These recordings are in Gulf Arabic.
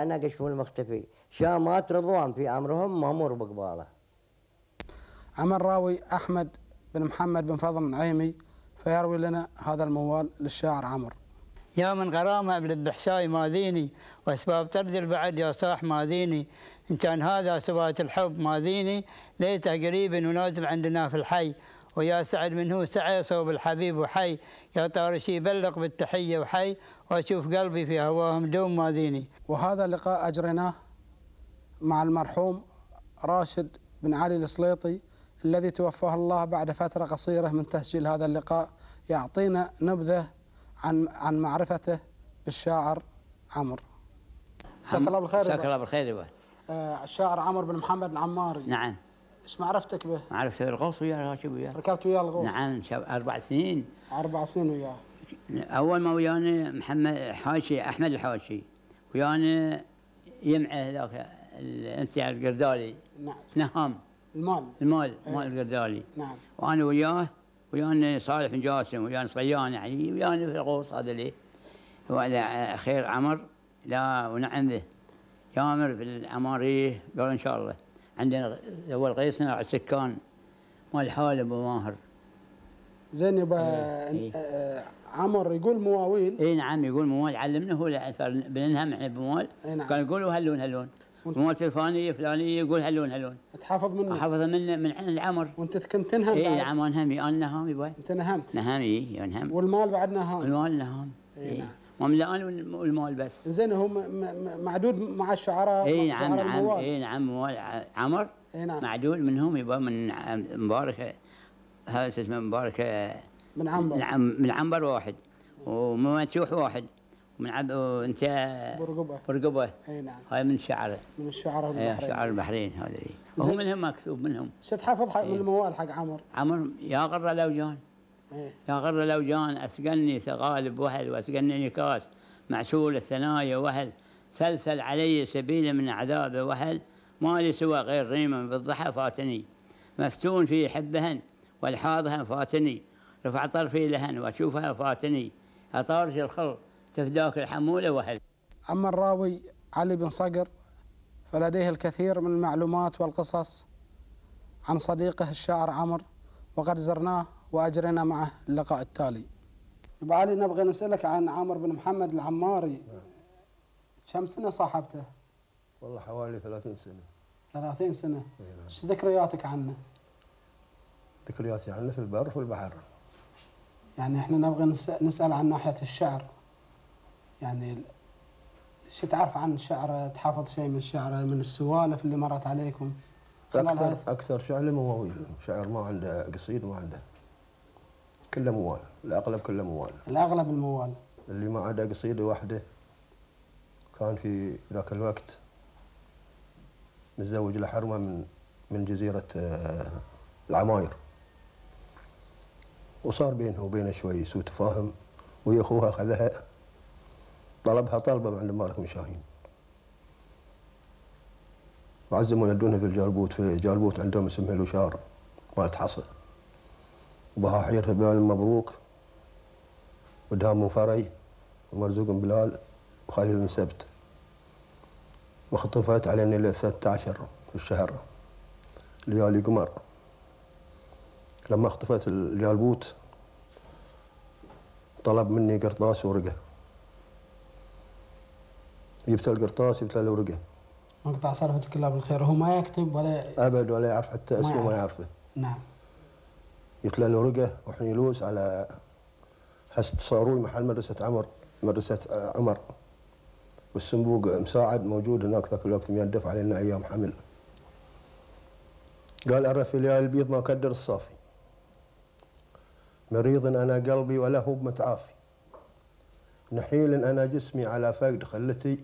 أنا قشف المختفي شامات رضوان في أمرهم مأمور بقباله. أما الراوي أحمد بن محمد بن فضل النعيمي فيروي لنا هذا الموال للشاعر عمرو. يا من غرامة بالبحشاي ماذيني، وأسباب ترجل بعد يا صاح ماذيني، إن كان هذا سبات الحب ماذيني، ليته قريب ونازل عندنا في الحي، ويا سعد منه سعي صوب الحبيب وحي، يا طارشي بلغ بالتحية وحي، وأشوف قلبي في هواهم دوم ماذيني. وهذا اللقاء أجريناه مع المرحوم راشد بن علي السليطي الذي توفاه الله بعد فترة قصيرة من تسجيل هذا اللقاء، يعطينا نبذة عن معرفته بالشاعر عمرو. جزاك الله بالخير. جزاك الله بالخير. الشاعر عمرو بن محمد العماري. نعم. ايش معرفتك به؟ معرفته بالغوص وياه، راكب وياه. ركبت وياه الغوص؟ نعم 4 سنين. 4 سنين وياه. أول ما ويانا محمد حاشي أحمد الحاشي، ويانا يمعه ذاك أنت القردالي. نعم. نهام. المال القردالي. نعم. وأنا ويانا صالح بن جاسم، ويانا صيان يعني، ويانا في الغوص هذا اللي هو على خير عمر. لا ونعم به يامر في العمارية. قال إن شاء الله عندنا هو القيصنا على السكان مال حالب وماهر. زين يبا. عمر يقول مواويل. اي نعم يقول موال، علمنا هو بننهم احنا بموال. نعم. كان يقولوا هلون موال الفلانيه فلانيه يقول هلون. تحافظ منه؟ حافظ من عند العمر. وانت كنت تنهم؟ اي نعم انهمي، انا نهامي باي. انت نهمت؟ نهامي ينهم. والمال بعد نهام؟ المال نهام. اي نعم. وملان والمال بس. زين هو معدود مع الشعراء. اي نعم اي نعم موال عمر. اي نعم. معدود منهم يبقى من مبارك، هذا اسمه مبارك من عنبر. نعم من عنبر واحد، ومنسوح واحد، وانت برقبه. اي نعم. هاي من الشعر. من الشعراء البحرين. شعر البحرين هذا اللي وهو منهم مكتوب منهم. شو تحفظ من الموال حق عمر؟ يا غر لوجان. يا غر لوجان اسقني ثغالب وهل، واسقني نكاس معسول الثنايا وهل، سلسل علي سبيل من عذاب وهل، ما لي سوى غير ريما بالضحى فاتني، مفتون في حبهن والحاظها فاتني، رفع طرفي لهن واشوفها فاتني، اطارج الخل تفداك الحموله وهل. اما الراوي علي بن صقر فلديه الكثير من المعلومات والقصص عن صديقه الشاعر عمرو، وقد زرناه واجرينا معه اللقاء التالي. ابو علي نبغى نسالك عن عمرو بن محمد العماري. كم سنه صاحبته؟ والله حوالي 30 سنه. 30 سنه. ايش ذكرياتك عنه؟ ذكرياتي عنه في البر وفي البحر. يعني احنا نبغى نسال عن ناحيه الشعر، يعني شو تعرف عن الشعر؟ تحافظ شيء من الشعر، من السوالف اللي مرت عليكم خلال اكثر شعر مواويل. شعر ما عنده قصيد، ما عنده، كله موال. الاغلب كله موال. الاغلب الموال. اللي ما عنده قصيده واحده كان في ذاك الوقت متزوج لحرمه من جزيره العماير، وصار بينه وبينه شوي سوء تفاهم، وهي اخوها اخذها طلبها طلبه من عند مالك بن شاهين، وعزموا يدونها في الجالبوت. في جالبوت عندهم اسمها الوشار مالت حصى، وبها حيرها بلال المبروك، ودهام بن فري، ومرزوق بن بلال، وخليل بن سبت. وخطفت علينا ل 13 في الشهر ليالي قمر. لما اختفت الجالبوت طلب مني قرطاس ورقه، جبت القرطاس جبت له ورقه. مقطع سالفتك الله بالخير. هو ما يكتب ولا ابد، ولا يعرف حتى اسمه، ما يعرفه. نعم. جبت له ورقه وحنيلوس على حسد صاروي محل مدرسه عمر، والصندوق مساعد موجود هناك ذاك الوقت ميدف علينا ايام حمل. قال أرى في ليالي البيض ما كدر الصافي، مريض أنا قلبي ولا هو بمتعافي، نحيل أنا جسمي على فقد خلتي،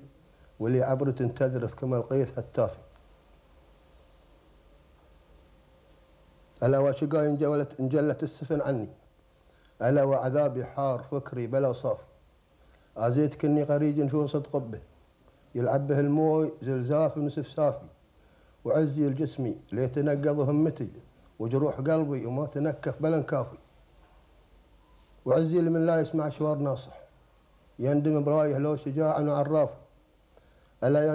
ولي عبرة تذرف كما القيث التافي. ألا وشقاي انجلت السفن عني، ألا وعذابي حار فكري بلا صافي، آزيت كني غريج في وسط قبه، يلعب به الموي زلزاف ونسف سافي، وعزي الجسمي ليتنقض همتي، وجروح قلبي وما تنكف بلا كافي، وعزي لمن لا يسمع شوار ناصح، يندم برايه لو شجاع وعراف، ألا